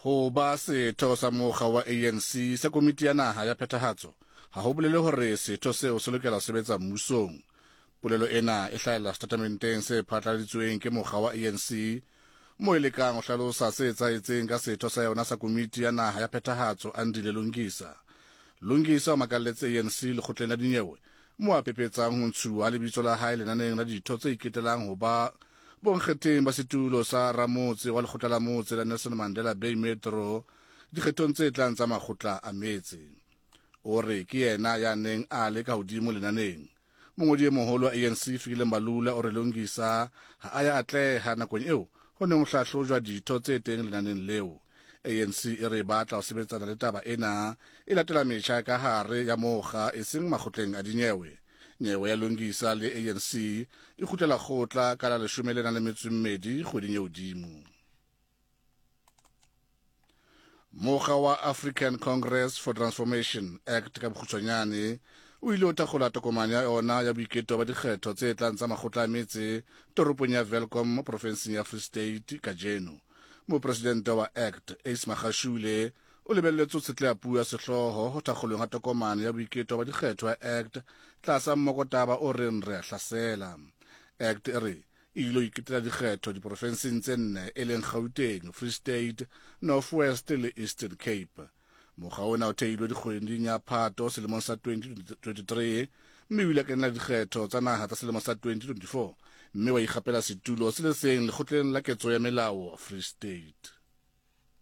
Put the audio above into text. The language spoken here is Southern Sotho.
Ho ba setho sa mokga wa ANC sa komiti ya naha ya phethahatso ha ho bolele hore setho seo se lokela ho sebetsa mmusong. Polelo ena e hlahella setatamenteng se phatlaladitsweng ke mokga wa ANC moo e lekang ho hlalosa se etsahetseng ka setho sa yona sa komiti ya naha ya phethahatso Andile Lungisa. Lungisa o makalletse ANC lekgotleng la dinyewe moo a pepetsang ho ntshuwa ha lebitso la hae lenaneng la ditho tse iketelang ho ba bonkgetheng ba setulo sa ramotse wa lekgotla la motse la Nelson Mandela Bay Metro dikgethong tse tlang tsa makgotla a metse. O re ke yena ya neng a le ka hodimo lenaneng. Mongodi e moholo wa ANC Fikile Mbalula o re Lungisa ha a ya atleha nakong eo ho neng ho hlahlojwa ditho tse teng lenaneng leo. ANC e re e batla ho sebetsana le taba ena e latela metjha ya ka hare ya mokga eseng makgotleng a dinyewe. Nyewe ya Lungisa le ANC e kgutlela kgotla ka la leshome le nang le metso e mmedi kgweding e hodimo. Mokga wa African Congress for Transformation Act ka bokgutshwanyane o ile o thakgola tokomane ya yona ya boiketo ba dikgetho tse tlang tsa makgotla a metse toropong ya Welkom mo profenseng ya Free State kajeno. Mopresidente wa Act Ace Magashule o lebelletswe ho tshetleha puo ya sehlooho ho thakgolweng ha tokomane ya boiketo ba dikgetho ya Act tlasa mmokotaba o reng re a hlasela. Act e re e ile ho iketela dikgetho diporofenseng tse nne e leng Gauteng, Free State, North West le Eastern Cape. Mokga ona o theilwe dikgweding ya Phato selemong sa 2023 mme o ile a kenela dikgetho tsa naha tsa selemo sa 2024 mme wa ikgapela setulo se le seng lekgotleng la ketso ya melao Free State.